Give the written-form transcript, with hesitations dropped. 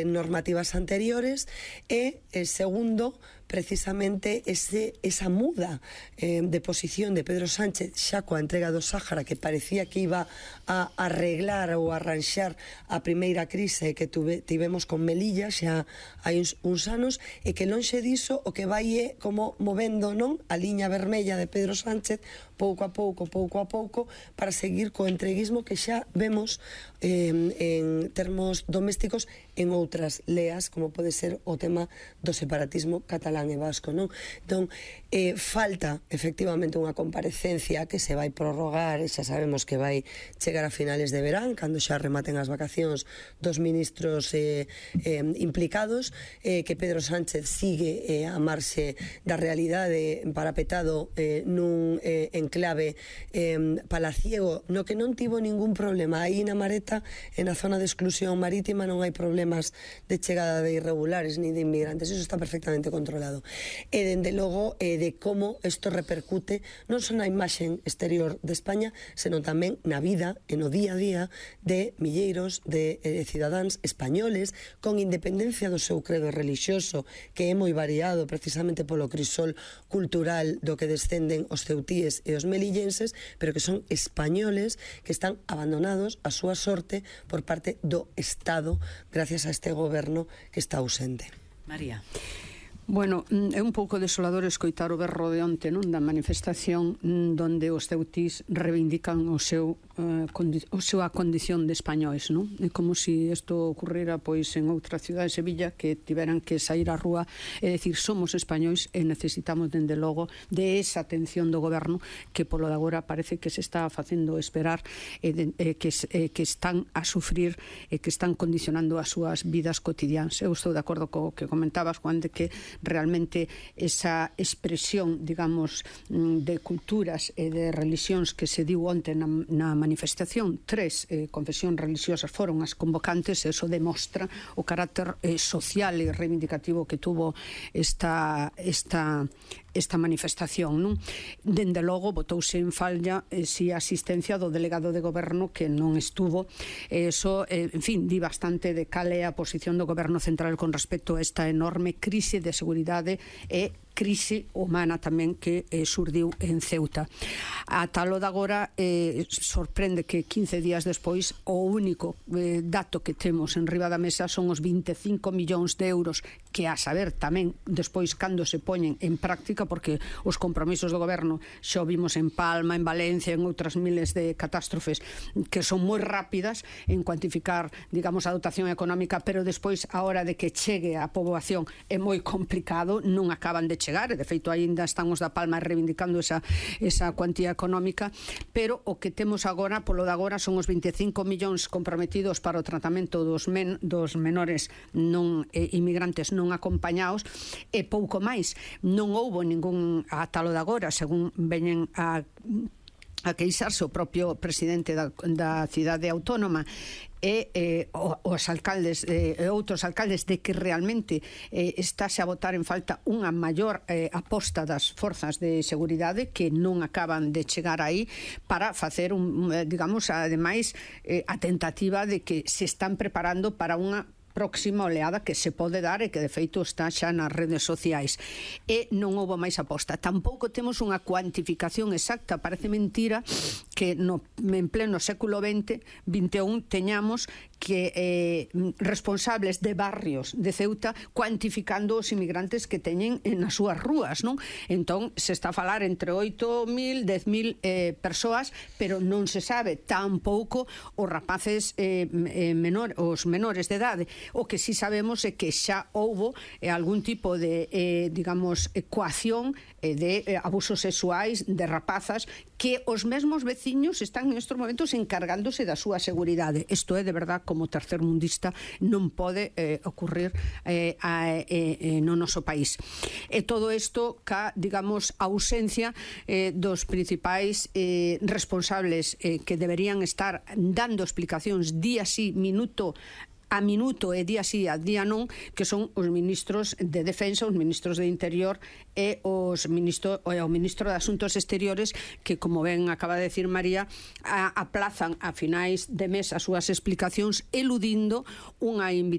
normativas anteriores e, segundo, precisamente esa muda de posición de Pedro Sánchez xa coa entrega do Sáhara, que parecía que iba a arreglar ou arranxar a primeira crise que tivemos con Melilla xa hai uns anos, e que lonxe diso o que vai é como movendo, non, a liña vermella de Pedro Sánchez pouco a pouco para seguir co entreguismo que xa vemos en termos domésticos en outras leas, como pode ser o tema do separatismo catalán e vasco, non? Entón, falta efectivamente unha comparecencia que se vai prorrogar, e xa sabemos que vai chegar a finales de verán, cando xa rematen as vacacións dos ministros implicados, que Pedro Sánchez sigue a marxe da realidade parapetado nun enclave palaciego, no que non tivo ningún problema. Aí na Mareta, en a zona de exclusión marítima, non hai problemas de chegada de irregulares ni de inmigrantes, eso está perfectamente controlado. E dende logo de como isto repercute non só na imaxe exterior de España, senón tamén na vida e no día a día de milleiros de cidadáns españoles, con independencia do seu credo relixioso, que é moi variado precisamente polo crisol cultural do que descenden os ceutíes e os melillenses, pero que son españoles que están abandonados a súa sorte por parte do Estado gracias a este goberno que está ausente. María. Bueno, é un pouco desolador escoitar o berro de onte, non, da manifestación donde os ceutís reivindican a súa condición de españois, non? É como se isto ocurrira pois en outra cidade, Sevilla, que tiveran que sair á rúa e decir somos españois e necesitamos dende logo de esa atención do goberno que polo de agora parece que se está facendo esperar que están a sufrir e que están condicionando as súas vidas cotidianas. Eu estou de acordo co que comentabas, Juan, de que realmente esa expresión, digamos, de culturas e de religións que se diu onte na manifestación, 3 confesións religiosas foron as convocantes, e eso demostra o carácter social e reivindicativo que tuvo esta manifestación, non? Dende logo botouse en falla si a asistencia do delegado de goberno que non estuvo, eso, en fin, di bastante de cal é a posición do goberno central con respecto a esta enorme crise de seguridade e crise humana tamén que surdiu en Ceuta. A talo de agora sorprende que 15 días despois o único dato que temos en riba da mesa son os 25 millóns de euros, que a saber tamén despois cando se poñen en práctica, porque os compromisos do goberno xa o vimos en Palma, en Valencia, en outras miles de catástrofes que son moi rápidas en cuantificar, digamos, a dotación económica, pero despois a hora de que chegue a poboación é moi complicado, non acaban de chegar, e de feito aínda están os da Palma reivindicando esa cuantía económica, pero o que temos agora, polo de agora, son os 25 millóns comprometidos para o tratamento dos menores non inmigrantes non acompañados, e pouco máis. Non houbo ningún atalo de agora, según veñen a queixarse o propio presidente da cidade autónoma e os alcaldes e outros alcaldes, de que realmente estáse a botar en falta unha maior aposta das forzas de seguridade que non acaban de chegar aí para facer digamos, ademais a tentativa de que se están preparando para unha próxima oleada que se pode dar e que de feito está xa nas redes sociais, e non houbo máis aposta. Tampouco temos unha cuantificación exacta. Parece mentira que en pleno século XX, 21, teñamos que responsables de barrios de Ceuta cuantificando os inmigrantes que teñen nas súas rúas, non? Entón, se está a falar entre 8.000, 10.000 persoas, pero non se sabe tampouco os rapaces os menores de idade. O que sí sabemos é que xa houbo algún tipo de, digamos, coacción de abusos sexuais de rapazas, que os mesmos veciños están en estes momentos encargándose da súa seguridade. Isto é, de verdad, como tercermundista, non pode ocurrir no noso país. E todo isto ca, digamos, ausencia dos principais responsables que deberían estar dando explicacións día sí, minuto a minuto e día sí a día non, que son os ministros de Defensa, os ministros de Interior e o ministro de Asuntos Exteriores, que, como ben acaba de decir María, aplazan a finais de mes as súas explicacións, eludindo unha invitación